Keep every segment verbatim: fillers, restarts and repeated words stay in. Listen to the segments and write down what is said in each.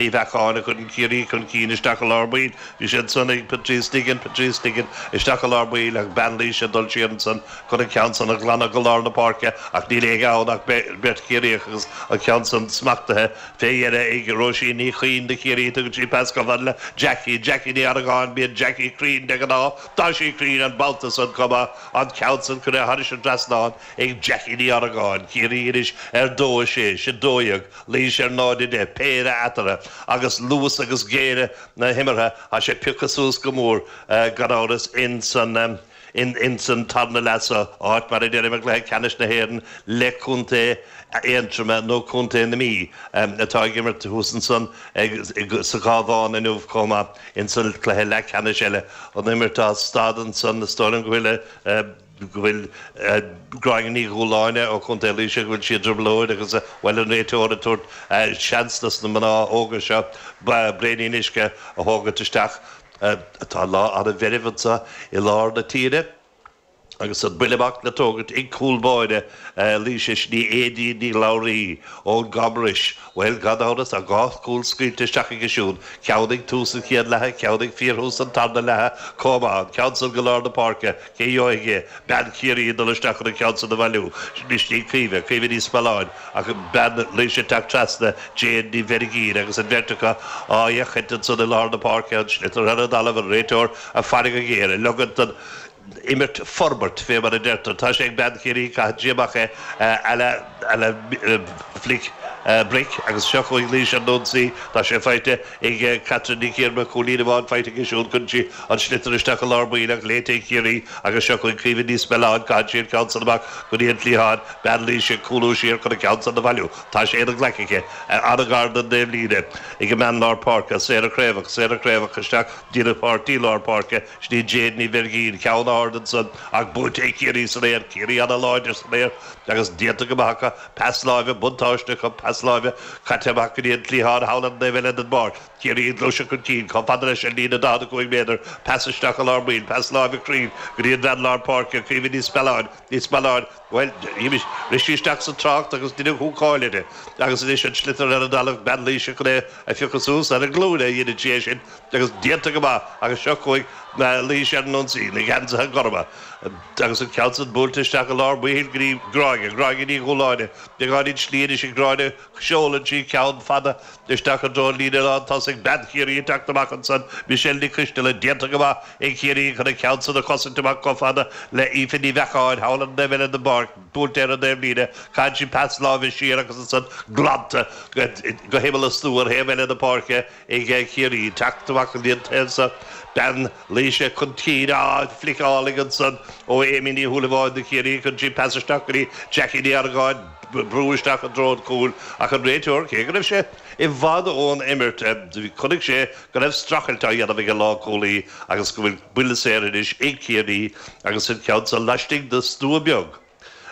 Ní Bheacháin a chuireann Ciarraí chun cinn isteach i lár baill. Bhí sé ansan ag Patrice Diggin, Patrice Diggin isteach i lár baill ach bean Laoise ag dul siar ansan chun an ceann san a ghlanadh go lár na páirce ach níl éinne ann ach beirt Chiarraíoch agus an ceann san smachtaithe fé dheireadh ag Róisín Ní Chuinn do Chiarraí. Tugann sí pas chomh fada le Jackie, Jackie Ní Argáin, bíonn Jackie cruinn de ghnáth, tá sí cruinn an babhta san chomh maith, an ceann san curtha thairis an trasnán ag Jackie Ní Argáin. Ciarraí anois ar dó a sé, sé dó dhéag. Laois ar náid a deich, péire eatarthu, agus luas agus géire na himeartha, tá sé pioctha suas go mór, gan amhras, ins an ins an tarna leath seo, áit, mar a deirim, i gcluiche ceannais na hÉireann le Contae Aontroma nó Contae na Mí atá ag imirt thuas ansan sa Chabhán inniu chomh maith ins an cluiche leathcheannais eile. An imirt á stad ansan, is dóigh liom go bhfuil. go bhfuil Gráinne Ní Dhúláine ó Chontae Laoise, go bhfuil sí i dtrioblóid agus, bhuel, an réiteoir ag tabhairt seans dos na mná óga seo braoinín uisce a thógaint isteach. Tá lá an-mheirbh anseo i lár na tíre agus an buille amach le tógaint ag cúl báire Laoise, sin í Aedín Ní Labhraí ón gCamrois. Bhuel, gan amhras, tá dhá chúl scaoilte isteach aici siúd, ceann ag tús an chéad leatha, ceann ag fíorthús an tarna leatha chomh maith. An ceann san go lár na páirce, cé gheobhaidh é? Bean Chiarraí ag dul isteach chun an ceann san a bhailiú. Sin í Caoimhe, Caoimhe Ní Spealáin, ach bean Laoise ag teacht trasna, Jane Ní Bheirgín, agus an bheirt acu á fhéachaint ansan i lár na páirce, an sliotar ar an dtalamh, an réiteoir ag faire go géar, ag ligean don imirt forbairt, fé mar a deirtear. Tá sé ag bean Chiarraí, caitheann sí amach é à la, à la flic bric agus seo chugainn Laois ar an ionsaí. Tá sé faighte ag Catherine Nic Iarma, cúilín amháin faighte aici siúd. Cuireann sí an sliotar isteach i lár baill ach léite ag Ciarraí agus seo chugainn Caoimhe Ní Spealáin. Caitheann sí an ceann san amach go dtí an cliathán. Bean Laoise ag cúlú siar chun an ceann san a bhailiú. Tá sé ina glaic aici, an-ghar don dtaobhlíne ag an mbean lár páirce, Sarah Craobhach, Sarah Craobhach isteach go dtí a páirtí lár páirce. Sin í Jane Ní Bheirgín, ceann ard ansan ach buaite ag Ciarraí san aer, Ciarraí an-láidir san aer agus déanta go maith acu, pas láimhe, buntáiste acu, pas láimhe caite amach go dtí an cliathán thall ar an dtaobh eile den bpáirc, Ciarraí ag gluaiseacht chun cinn, chomh fada leis an líne daichead a cúig méadar, pas isteach i lár baill, pas láimhe cruinn go dtí an bhean lár páirce, Caoimhe Ní Spealáin, Ní Spealáin, bhuel, rith sí isteach sa trácht agus deineadh húcáil uirthi agus anois an sliotar ar an dtalamh, bean Laoise chun é a phiocadh suas ar a glúine a dheineann sí é sin. Agus déanta go maith agus seo chugainn Laois ar an ionsaí, na geansaithe gorma agus an ceann san buailte isteach i lár baill go dtí Gráinne, Gráinne Ní Dhúláine, beagáinín slí anois ag Gráinne, seolann sí ceann fada isteach i dtreo an líne lán tosaigh, bean Chiarraí ag teacht amach ansan, Michelle Ní Choisteala, déanta go maith ag Ciarraí chun an ceann san a chosaint amach chomh fada le Aoife Ní Bheacháin thall ar an dtaobh eile den bpáirc, buailte ar an dtaobhlíne, caitheann sí pas láimhe siar agus ansan glanta go himeall an stua ar thaobh eile na páirce. Ag Ciarraí teacht amach go dtí an taobh seo, bean Laoise chun cinn, á, flic álainn ansan ó Amy Ní Shúilleabháin do Chiarraí, cuireann sí pas isteach go dtí Jackie Ní Argáin, brú isteach i dtreo an chúil ach an réiteoir, cé go raibh sé i bhfad ón imirt, chonaic sé go raibh streachailt á dhéanamh ag an lánchúlaí agus go bhfuil buille saor anois ag Ciarraí agus an ceann seo laistigh de stua beag.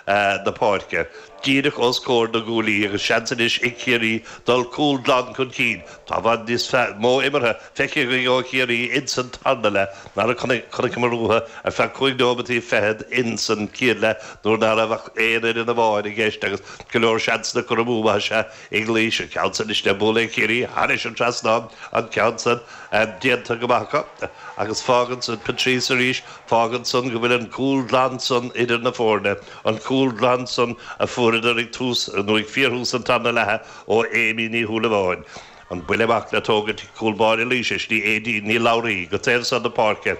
na páirce, díreach os comhair na gcuaillí agus seans anois ag Ciarraí dul cúl glan chun cinn. Tá i bhfad níos mó imeartha feicthe againn ó Chiarraí ins an tarna leath ná a chonaiceamar uathu ar feadh cúig nóimeataí fichead ins an chéad leath nuair ná raibh ach aon fhoireann amháin i gceist agus go leor seansanna curtha amú maith is ea ag Laois. An ceann san anois le bualadh ag Ciarraí thairis an trasnán, an ceann san déanta go maith acu agus fágann san Patrice arís, fágann san go bhfuil an cúl glan san idir na foirne, an cúl glan san a fuaireadar ag tús, nó ag fíorthús an tarna leatha ó Amy Ní Shúilleabháin. An buille amach le tógaint ag cúl báire Laoise, sin í Aedín Ní Labhraí go taobh san na páirce.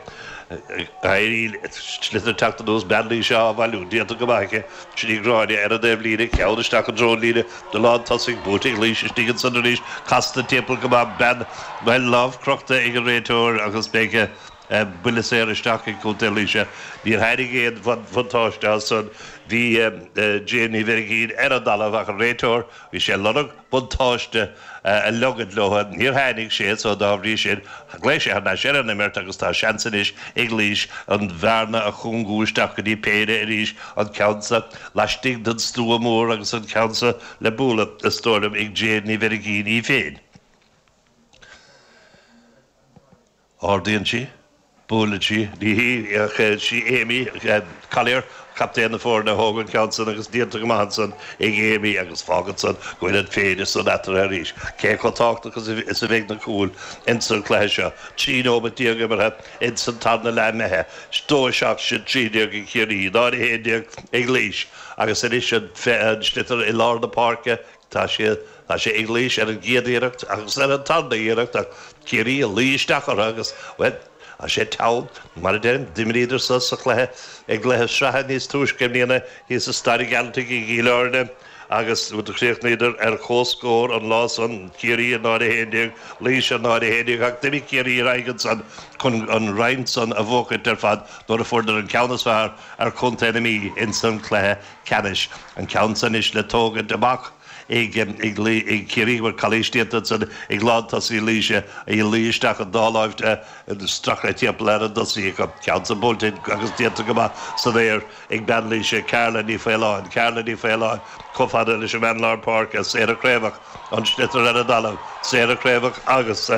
Éirí sliotar teacht anuas, bean Laoise á bhailiú, déanta go maith aici, sin í Gráinne ar an dtaobhlíne, ceann isteach i dtreo an líne de lán tosaigh, buaite ag Laois istigh ansan arís, casta timpeall go maith, bean, bhuel, lámh crochta ag an réiteoir agus beidh buille saor isteach ag Contae Laoise. Níor tháinig aon bhuntáiste as san, bhí Jane Ní Bheirgín ar an dtalamh ach an réiteoir, bhí sé ag lorg buntáiste a leogaint leo. Níor tháinig sé so dá bhrí sin ghlaoigh sé thar n-ais ar an imirt agus tá seans anois ag Laois an bhearna a chúngú isteach go dtí péire arís, an ceann sa laistigh den stua mór agus an ceann sa le bualadh, is dóigh liom, ag Jane Ní Bheirgín í féin. Ardaíonn sí, buaileann sí, ní hí ach sí Amy Collier, Captaen na foirne a thóg an ceann san agus déanta go maith ansan ag Amy agus fágann san go bhfuil an péire san eatarthu arís. Cé chomh tábhachtach is a bheidh na cúil ins an chluiche seo. Trí nóiméad déag imeartha ins an tarna leath imithe. Dó a seacht sin trí déag ag Ciarraí, náid a haon déag ag Laois agus anois an sliotar i lár na páirce. Tá sé tá sé ag Laois ar an gcéad iarracht agus ar an tarna iarracht ach Ciarraí ag luí isteach orthu agus, bhuel, tá sé teann, mar a deirim, d'imríodar sa sa chluiche i gcluiche sraithe níos túisce i mbliana thíos i Staid an Ghealtaigh i gCill Airne agus do chríochnaíodar ar comhscór an lá san, Ciarraí a náid a haon déag, Laois a náid a haon déag ach d'imigh Ciarraí ar aghaidh ansan chun an roinn san a bhuachaint ar fad nuair a fuaireadar an ceann is fearr ar Chontae na Mí ins an chluiche ceannais. An ceann san anois le tógaint amach. ag Ciarraí go bhfuil calaois déanta ansan ag lántosaí Laoise ag luí isteach an dá láimh stractha timpeall ar an dtosaí acu. Ceann san buailte agus déanta go maith san aer ag bean Laoise, Carla Ní Faoláin, Carla Ní Faoláin chomh fada leis an mbean lár páirce, Sarah Craobhach, an sliotar ar an dtalamh, Sarah Craobhach agus.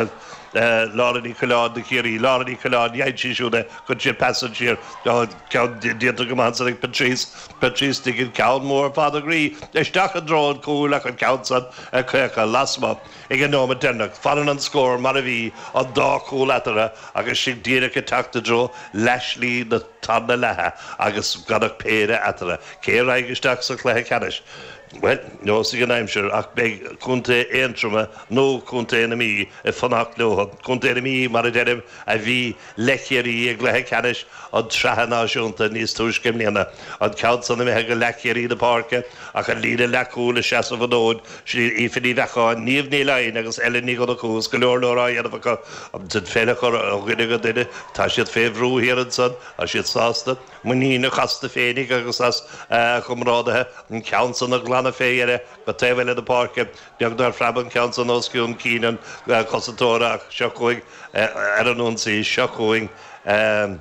Lára Ní Choileáin do Chiarraí, Lára Ní Choileáin, dhein sí siúd é, chuir sí pas siar, ceann déanta go maith ansan ag Patrice, Patrice Diggin, ceann mór fada groí isteach i dtreo an chúil ach an ceann san ag caochadh lasmuigh ag an nóiméad deireanach. Fanann an scór mar a bhí, an dá chúl eatarthu agus sinn díreach ag teacht i dtreo leathshlí na tarna leatha agus gan ach péire eatarthu. Cé a raghaidh isteach sa chluiche ceannais? Bhuel, neosfaidh an aimsir, ach beidh Contae Aontroma nó Contae na Mí ag fanacht leo. Contae na Mí, mar a deirim, a bhí le Ciarraí i gcluiche ceannais an tSraithe Náisiúnta níos túisce i mbliana. An ceann san imithe go leathcheathrú na páirce ach an líne leathchúil ag seasamh an fhóid, sin iad Aoife Ní Bheacháin, Niamh Ní Laighin agus Ellen Ní Dhonnchú agus go leor leor á dhéanamh acu. An pheil a chur ó dhuine go duine, tá siad fé bhrú thiar ansan, tá siad sásta. Muiníneach astu féinig agus as a gcomrádaithe, an ceann san a ghlanadh fé dheireadh go taobh eile na páirce. Beag nár phreab an ceann san os cionn cinn an chosantóra ach seo chugainn ar an ionsaí, seo chugainn an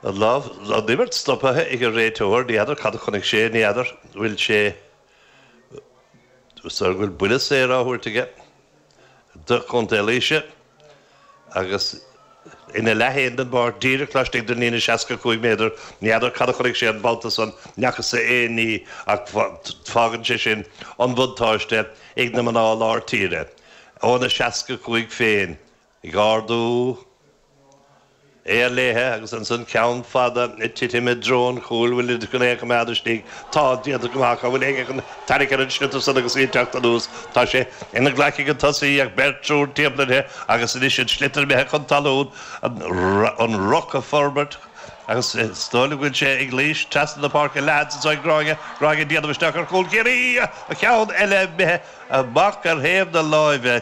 lámh, an imirt stoptha ag an réiteoir, ní fheadar cad a chonaic sé, ní fheadar bhfuil sé, is dóigh go bhfuil buille saor á thabhairt aige do Chontae Laoise agus ina leath féin den bpáirc, díreach laistigh den líne seasca cúig méadar. Ní fheadar cad a chonaic sé an babhta san, n'fheacas-sa aon ní ach fágann sé sin an buntáiste ag na mná lár tíre. Óna seasca cúig féin ag ardú é léithe agus ansan ceann fada ag titim i dtreo an chúil, bhfuil chun é a choimeád istigh, tá déanta go maith, an bhfuil éinne chun tarrac ar an sliotar san agus í ag teacht anuas, tá sé ina glac ag an tosaí ach beirt triúr timpeall uirthi agus anois an sliotar imithe chun talún, an ruc ag forbairt agus is dóigh liom go bhfuil sé ag Laois trasna na páirce leath anso ag Gráinne, Gráinne ag déanamh isteach ar chúl Chiarraí, an ceann eile imithe amach ar thaobh na láimhe.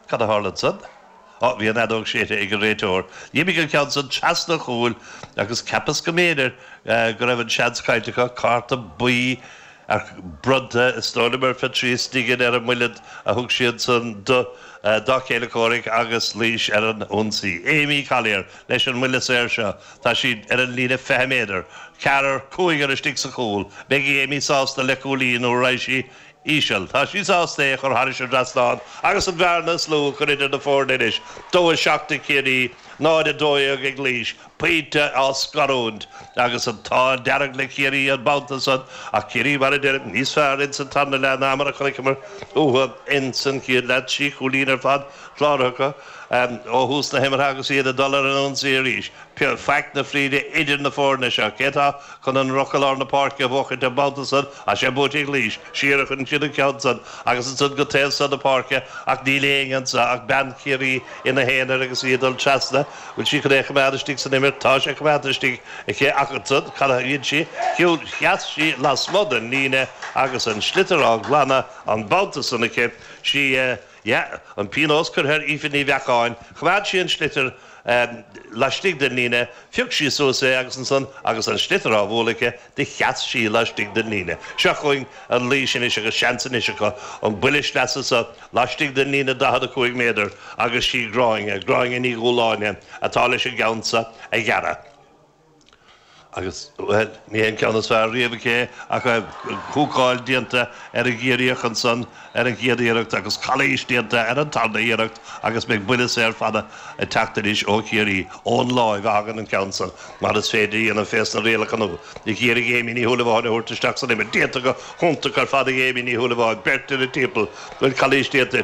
Cad a tharla ansan? Á, bhí an fheadóg séidte ag an réiteoir. D'imigh an ceann san trasna an chúil agus cheapas go mb'fhéidir go raibh an seans caillte acu. Cárta buí bronnta, is dóigh liom, ar Phatrice Diggin ar an mbuille a thug sí ansan do dá chéile comhraic agus Laois ar an ionsaí. Amy Collier leis an mbuille saor seo. Tá sí ar an líne fiche méadar. Ceathrar, cúigear istigh sa chúl. Beidh Amy sásta le cúilín nó raghaidh sí íseal. Tá sí sásta é a chur thairis an dtrasnán agus an bhearna is lú a chur idir na foirne anois. Dó a seacht ag Ciarraí, náid a dó dhéag ag Laois. Pointe á scarúint agus an t-ádh dearg le Ciarraí an babhta san ach Ciarraí, mar a deirim, níos fearr ins an tarna leath ná mar a chonaiceamar uathu ins an chéad leath. Trí chúilín ar fad cláraithe acu ó thús na himeartha agus iad ag dul ar an ionsaí arís. Faic na fríde idir na foirne seo. Cé atá chun an ruc i lár na páirce a bhuachaint an babhta san? Tá sé buaite ag Laois. Siar a chuireann siad an ceann san agus ansan go taobh san na páirce ach níl éinne anso ach bean Chiarraí ina haonar agus í ag dul trasna. Bhfuil sí chun é a choimeád istigh san imirt? Tá sé coimeádta istigh aici ach ansan cad a dhein sí? Shiúil, sheas sí lasmuigh den líne agus an sliotar á ghlanadh an babhta san aici. Sí, yeah, an pionós curtha ar Aoife Ní Bheacháin. Choimeád sí an sliotar laistigh den líne, phioc sí suas é agus ansan agus an sliotar á bhualadh aici, do sheas sí laistigh den líne. Seo chugainn an Laois anois agus seans anois acu an buille sleasa seo laistigh den líne daichead a cúig méadar agus sí Gráinne, Gráinne Ní Dhúláine atá leis an gceann seo a ghearradh. Agus well, ní an ceann is fearr riamh aici ach húcáil déanta ar an gCiarraíoch ansan ar an gcéad iarracht agus calaois déanta ar an tarna iarracht agus beidh buille saor fada ag teacht anois ó Chiarraí ón láimh a thagann an ceann san mar is féidir dhéanamh fés na rialacha nua. Ag iarraidh Amy Ní Shúilleabháin a thabhairt isteach san imirt déanta go hiontach ar fad Amy Ní Shúilleabháin beirt ina timpeall bhfuil calaois déanta